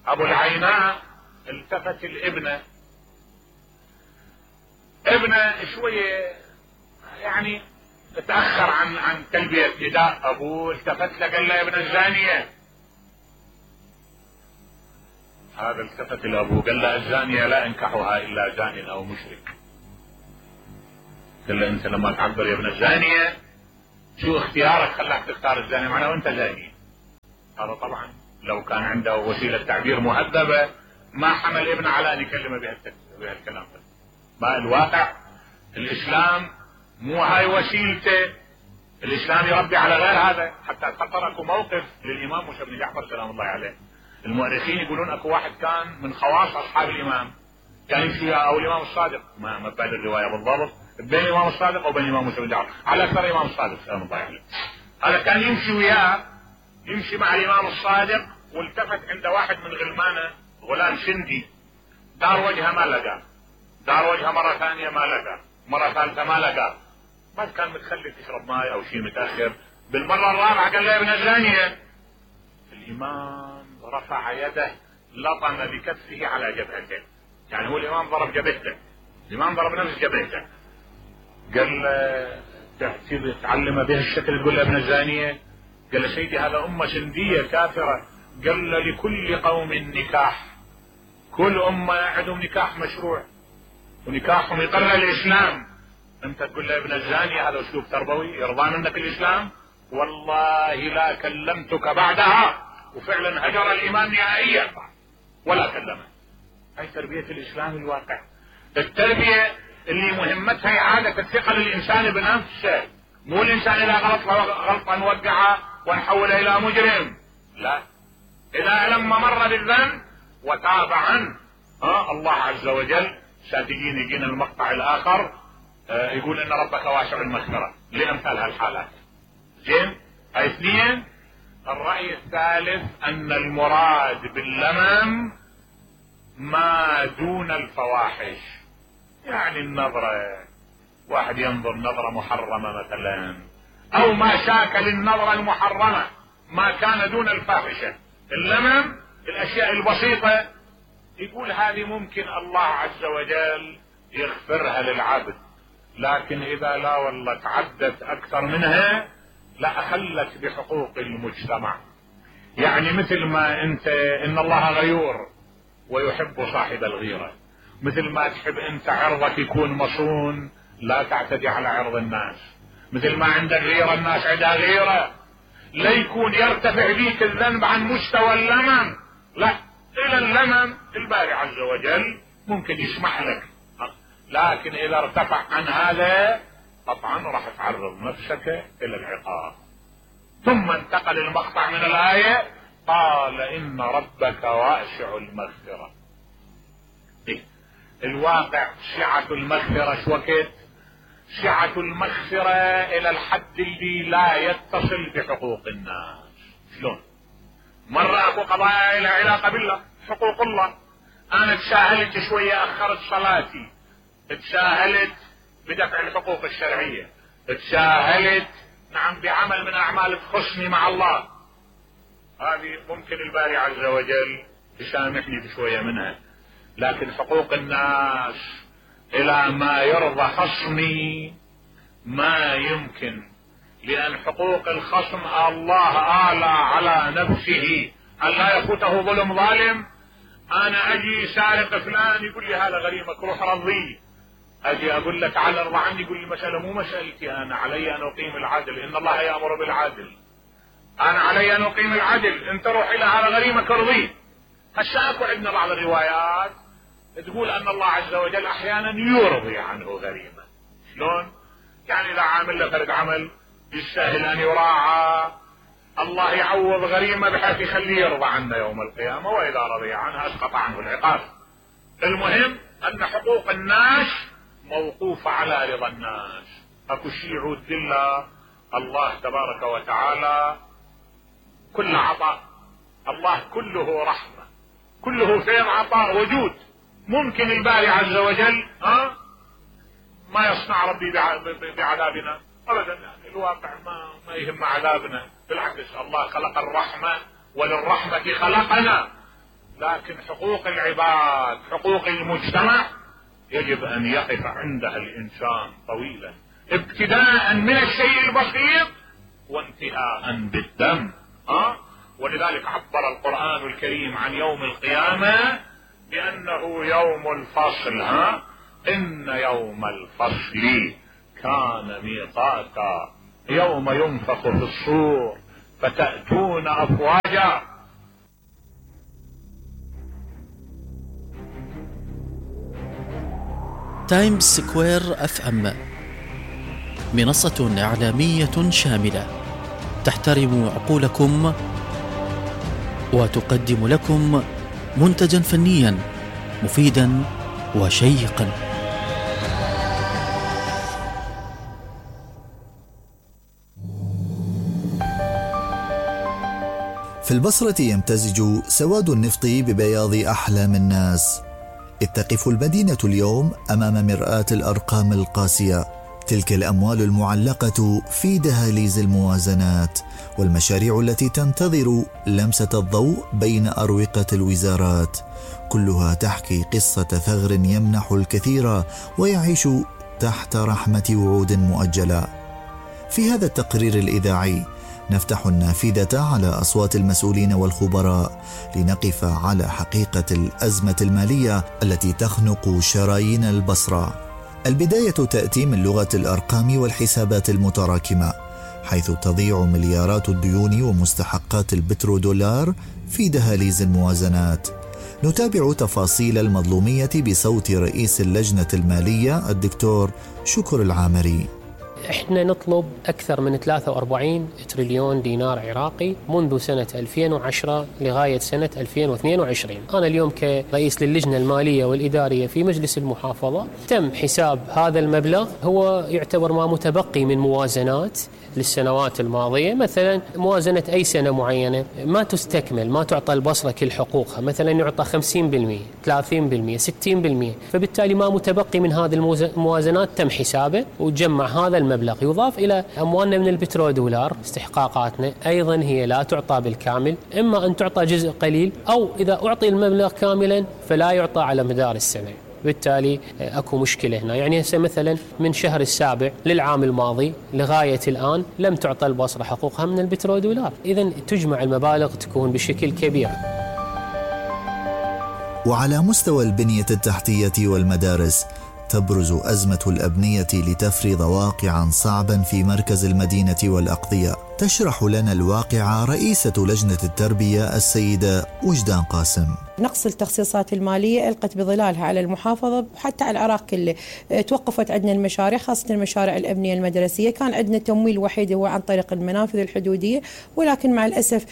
ابو العيناء التفت الابنة، ابنه شوية يعني تأخر عن تلبية نداء ابوه، التفت له قال له يا ابن الزانية. هذا التفت لابوه قال له الزانية لا انكحها الا زان او مشرك. قال له انت لما تعبر يا ابن الزانية شو اختيارك خلاك تختار الزانية معنا وانت زاني؟ هذا طبعا لو كان عنده وسيلة تعبير مهذبة ما حمل ابنه على ان يكلمه بهالكلام. ما الواقع الاسلام مو هاي وسيلته، الاسلام يربي على غير هذا. حتى اتذكر اكو موقف للامام موسى بن جعفر سلام الله عليه، المؤرخين يقولون اكو واحد كان من خواص اصحاب الامام كان يمشي او الامام الصادق، ما بعد الروايه بالضبط بين الامام الصادق او بين الامام موسى بن جعفر، على اكثر الامام الصادق سلام الله عليه. هذا كان يمشي وياه، يمشي مع الامام الصادق، والتفت عند واحد من غلمانه غلام سندي، دار وجهه ما لقى، دار وجهه مره ثانيه ما لقى، مره ثالثه ما لقى، ما كان متخلي تشرب ماي او شيء متاخر. بالمره الرابعه قال له يا ابن الزانيه. الامام رفع يده لطم بكفه على جبهته، يعني هو الامام ضرب جبهته، الامام ضرب نفس جبهته. قال له تعلم بهالشكل تقول له ابن الزانيه؟ قال له سيدي هذا امه سنديه كافره. قال له لكل قوم نكاح، كل امه عندهم نكاح مشروع ونكاحهم يقر الاسلام، انت تقول له ابن الزانيه؟ هذا اسلوب تربوي يرضى منك الاسلام؟ والله لا كلمتك بعدها. وفعلا هجر الامام نهائيا ولا كلمه. هاي تربيه الاسلام الواقع، التربيه اللي مهمتها اعاده الثقه للانسان بنفسه، مو الانسان اذا غلطا نوقعه ونحوله الى مجرم، لا، اذا لما مر بالذنب وتاب عنه الله عز وجل يجينا المقطع الاخر يقول ان ربك واسع المغفره لامثال هالحالات. زين، هاي اثنين. الراي الثالث ان المراد باللمم ما دون الفواحش، يعني النظره، واحد ينظر نظره محرمه مثلا، او ما شاكل النظره المحرمه ما كان دون الفاحشه. اللمم الاشياء البسيطه يقول هذه ممكن الله عز وجل يغفرها للعبد، لكن اذا لا والله تعدت اكثر منها لا اخلت بحقوق المجتمع. يعني مثل ما انت ان الله غيور ويحب صاحب الغيرة، مثل ما تحب انت عرضك يكون مصون لا تعتدي على عرض الناس، مثل ما عندك غيرة الناس عندها غيرة، لا يكون يرتفع بيك الذنب عن مستوى اللمم، لا، الى اللمم الباري عز وجل ممكن يسمح لك، لكن اذا ارتفع عن هذا قطعا راح تعرض نفسك الى العقاب. ثم انتقل المقطع من الآية قال ان ربك واسع المغفرة. الواقع سعة المغفرة شو وقت؟ سعة المغفرة الى الحد اللي لا يتصل بحقوق الناس. شلون؟ مرة اكو قضايا لها علاقة بالله، حقوق الله، انا تساهلت شوية اخرت صلاتي، تساهلت بدفع الحقوق الشرعية، تساهلت نعم بعمل من اعمال تخصني مع الله، هذه ممكن الباري عز وجل يسامحني بشوية منها. لكن حقوق الناس الى ما يرضى خصمي ما يمكن، لان حقوق الخصم الله آلى على نفسه ان لا يفوته ظلم ظالم. انا اجي سارق فلان يقول لي هذا غريمك روح رضيه، اجي اقول لك تعال ارضى عني يقول لي المسألة مو مسألتي، انا علي ان اقيم العدل، ان الله يأمر بالعدل، انا علي ان اقيم العدل، انت روح الى هذا غريمك ارضيه. هسه اكو عندنا بعض الروايات تقول ان الله عز وجل احيانا يرضي عنه غريمه. شلون؟ يعني اذا عامل له فرد عمل يستاهل ان يراعى، الله يعوض غريمه بحيث يخليه يرضى عنه يوم القيامه، واذا رضي عنه اسقط عنه العقاب. المهم ان حقوق الناس موقوفه على رضا الناس، اكو شيء يعود لله الله تبارك وتعالى كل عطاء، الله كله رحمه، كله فيض عطاء وجود. ممكن الباري عز وجل ما يصنع ربي بعذابنا ابدا، يعني الواقع ما يهم عذابنا، بالعكس الله خلق الرحمة وللرحمة خلقنا، لكن حقوق العباد حقوق المجتمع يجب ان يقف عندها الانسان طويلا، ابتداء من الشيء البسيط وانتهاء بالدم. ولذلك عبر القرآن الكريم عن يوم القيامة بأنه يوم الفصل. إن يوم الفصل كان ميقاتا يوم ينفخ في الصور فتأتون أفواجا. تايمز سكوير FM منصة إعلامية شاملة تحترم عقولكم وتقدم لكم منتجا فنيا مفيدا وشيقا. في البصرة يمتزج سواد النفط ببياض أحلام الناس، إذ تقف المدينة اليوم أمام مرآة الأرقام القاسية، تلك الأموال المعلقة في دهاليز الموازنات والمشاريع التي تنتظر لمسة الضوء بين أروقة الوزارات، كلها تحكي قصة ثغر يمنح الكثير ويعيش تحت رحمة وعود مؤجلة. في هذا التقرير الإذاعي نفتح النافذة على أصوات المسؤولين والخبراء لنقف على حقيقة الأزمة المالية التي تخنق شرايين البصرة. البداية تأتي من لغة الأرقام والحسابات المتراكمة، حيث تضيع مليارات الديون ومستحقات البترودولار في دهاليز الموازنات. نتابع تفاصيل المظلومية بصوت رئيس اللجنة المالية الدكتور شكر العامري. احنا نطلب أكثر من 43 تريليون دينار عراقي منذ سنة 2010 لغاية سنة 2022. أنا اليوم كرئيس للجنة المالية والإدارية في مجلس المحافظة تم حساب هذا المبلغ، هو يعتبر ما متبقي من موازنات للسنوات الماضية. مثلا موازنة أي سنة معينة ما تستكمل، ما تعطى البصرة كل حقوقها، مثلا يعطى 50%، 30%، 60%، فبالتالي ما متبقي من هذه الموازنات تم حسابه وتجمع هذا المبلغ، يضاف إلى أموالنا من البترودولار. استحقاقاتنا أيضا هي لا تعطى بالكامل، إما أن تعطى جزء قليل أو إذا أعطي المبلغ كاملا فلا يعطى على مدار السنة. بالتالي أكو مشكلة هنا. يعني هسه مثلا من شهر السابع للعام الماضي لغاية الآن لم تعطى البصرة حقوقها من البترودولار، إذن تجمع المبالغ تكون بشكل كبير. وعلى مستوى البنية التحتية والمدارس تبرز أزمة الأبنية لتفرض واقعا صعبا في مركز المدينة والأقضية. تشرح لنا الواقع رئيسة لجنة التربية السيدة وجدان قاسم. نقص التخصيصات المالية ألقت بظلالها على المحافظة وحتى على العراق كله. توقفت عندنا المشاريع، خاصة المشاريع الأبنية المدرسية. كان عندنا تمويل وحيد هو عن طريق المنافذ الحدودية، ولكن مع الأسف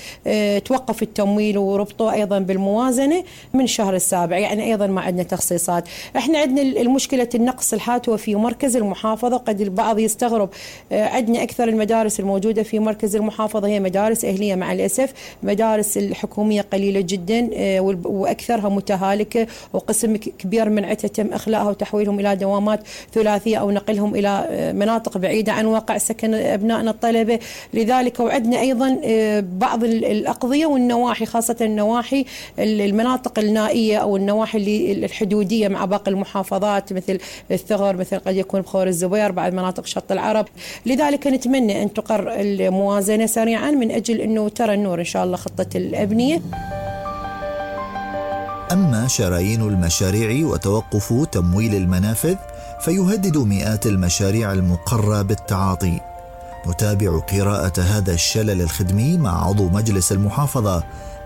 توقف التمويل وربطه أيضا بالموازنة من الشهر السابع، يعني أيضا ما عندنا تخصيصات. احنا عندنا المشكلة النقص الحاتوة في مركز المحافظة. قد البعض يستغرب، عندنا أكثر المدارس الموجودة في مركز المحافظة هي مدارس أهلية، مع الأسف مدارس الحكومية قليلة جدا وأكثرها متهالكة، وقسم كبير من عدتها تم إخلاءها وتحويلهم إلى دوامات ثلاثية أو نقلهم إلى مناطق بعيدة عن واقع سكن أبنائنا الطلبة. لذلك وعدنا أيضا بعض الأقضية والنواحي، خاصة النواحي المناطق النائية أو النواحي الحدودية مع باقي المحافظات مثل الثغر، مثل قد يكون بخور الزبير، بعض مناطق شط العرب. لذلك نتمنى أن تقر الموازنة سريعا من أجل أنه ترى النور إن شاء الله خطة الأبنية. أما شرايين المشاريع وتوقف تمويل المنافذ فيهدد مئات المشاريع المقرة بالتعاطي. نتابع قراءة هذا الشلل الخدمي مع عضو مجلس المحافظة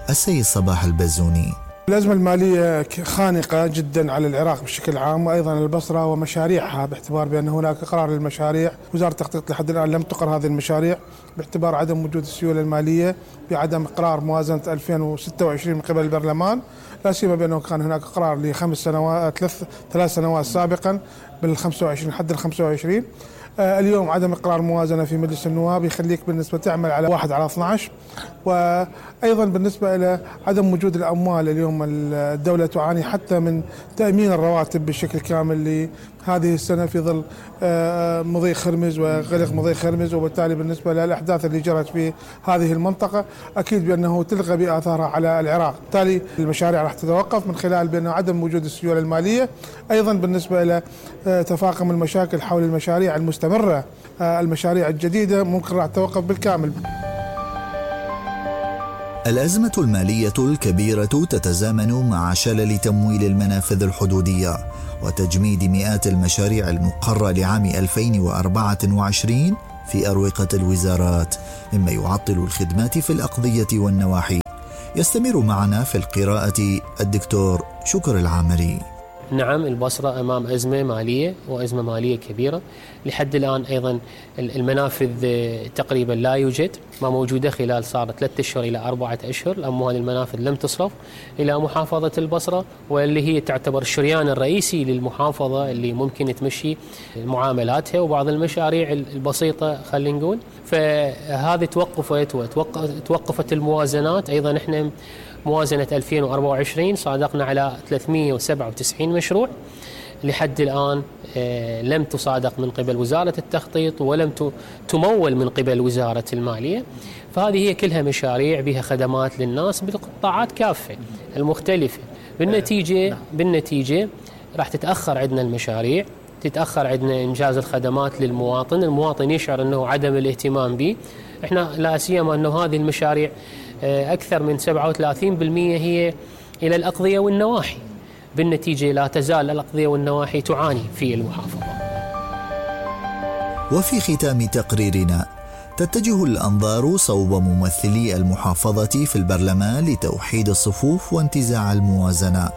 السيد صباح البزوني. الأزمة المالية خانقة جدا على العراق بشكل عام وأيضا البصرة ومشاريعها، باعتبار بأن هناك قرار للمشاريع. وزارة التخطيط لحد الآن لم تقر هذه المشاريع باعتبار عدم وجود السيولة المالية، بعدم إقرار موازنة 2026 من قبل البرلمان، لا سيما بأنه كان هناك قرار ثلاث سنوات سابقا بال25 حد ال25. اليوم عدم إقرار موازنة في مجلس النواب يخليك بالنسبة تعمل على 1/12. وأيضا بالنسبة إلى عدم وجود الأموال، اليوم الدولة تعاني حتى من تأمين الرواتب بشكل كامل لهذه السنة في ظل مضيق خرمز وغلق مضيق خرمز، وبالتالي بالنسبة للأحداث اللي جرت في هذه المنطقة أكيد بأنه تلغى بآثارها على العراق. بالتالي المشاريع راح تتوقف من خلال بأن عدم وجود السيولة المالية. أيضا بالنسبة إلى تفاقم المشاكل حول المشاريع المستمرة، المشاريع الجديدة ممكن راح تتوقف بالكامل. الأزمة المالية الكبيرة تتزامن مع شلل تمويل المنافذ الحدودية وتجميد مئات المشاريع المقرة لعام 2024 في أروقة الوزارات، مما يعطل الخدمات في الأقضية والنواحي. يستمر معنا في القراءة الدكتور شكر العامري. نعم، البصرة أمام أزمة مالية وأزمة مالية كبيرة. لحد الآن أيضا المنافذ تقريبا لا يوجد، ما موجودة خلال صار 3 أشهر إلى 4 أشهر. الأموال المنافذ لم تصرف إلى محافظة البصرة، واللي هي تعتبر الشريان الرئيسي للمحافظة اللي ممكن تمشي معاملاتها وبعض المشاريع البسيطة خلينا نقول. فهذه توقفت الموازنات. أيضا إحنا موازنة 2024 صادقنا على 397 مشروع، لحد الآن لم تصادق من قبل وزارة التخطيط ولم تمول من قبل وزارة المالية. فهذه هي كلها مشاريع بها خدمات للناس بالقطاعات كافة المختلفة. بالنتيجة راح تتأخر عندنا المشاريع، تتأخر عندنا إنجاز الخدمات للمواطن. المواطن يشعر أنه عدم الاهتمام به. إحنا لا سيما أنه هذه المشاريع أكثر من 37% هي إلى الأقضية والنواحي. بالنتيجة لا تزال الأقضية والنواحي تعاني في المحافظة. وفي ختام تقريرنا تتجه الأنظار صوب ممثلي المحافظة في البرلمان لتوحيد الصفوف وانتزاع الموازنة،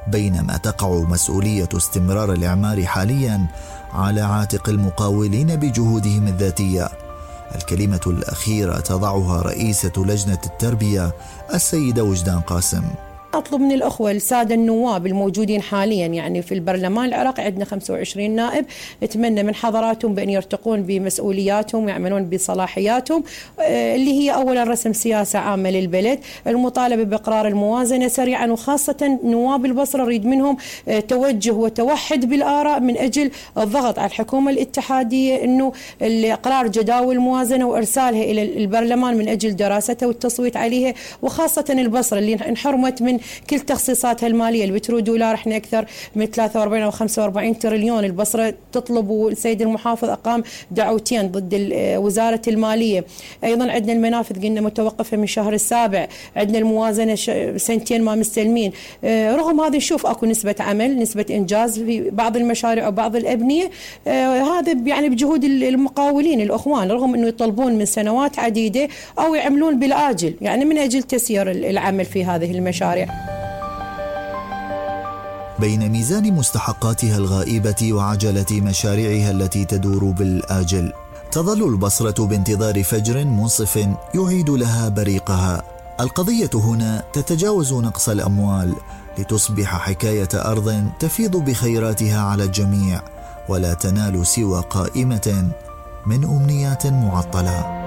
بينما تقع مسؤولية استمرار الإعمار حاليا على عاتق المقاولين بجهودهم الذاتية. الكلمة الأخيرة تضعها رئيسة لجنة التربية السيدة وجدان قاسم. أطلب من الأخوة السادة النواب الموجودين حاليا يعني في البرلمان العراقي، عندنا 25 نائب، نتمنى من حضراتهم بأن يرتقون بمسؤولياتهم ويعملون بصلاحياتهم، اللي هي أولا رسم سياسة عامة للبلد، المطالبة بإقرار الموازنة سريعا، وخاصة نواب البصرة نريد منهم توجه وتوحد بالآراء من أجل الضغط على الحكومة الاتحادية أنه إقرار جداول الموازنة وإرسالها إلى البرلمان من أجل دراستها والتصويت عليها، وخاصة البصرة اللي انحرمت من كل تخصيصاتها المالية. البترودولار احنا أكثر من 43 أو 45 تريليون. البصرة تطلب، والسيد المحافظ أقام دعوتين ضد وزارة المالية. أيضا عندنا المنافذ قلنا متوقفة من شهر السابع، عندنا الموازنة 2 ما مستلمين. رغم هذا نشوف أكو نسبة عمل، نسبة إنجاز في بعض المشاريع أو بعض الأبنية. هذا يعني بجهود المقاولين الأخوان، رغم أنه يطلبون من سنوات عديدة أو يعملون بالآجل يعني من أجل تسيير العمل في هذه المشاريع. بين ميزان مستحقاتها الغائبة وعجلة مشاريعها التي تدور بالآجل، تظل البصرة بانتظار فجر منصف يعيد لها بريقها. القضية هنا تتجاوز نقص الأموال لتصبح حكاية أرض تفيض بخيراتها على الجميع، ولا تنال سوى قائمة من أمنيات معطلة.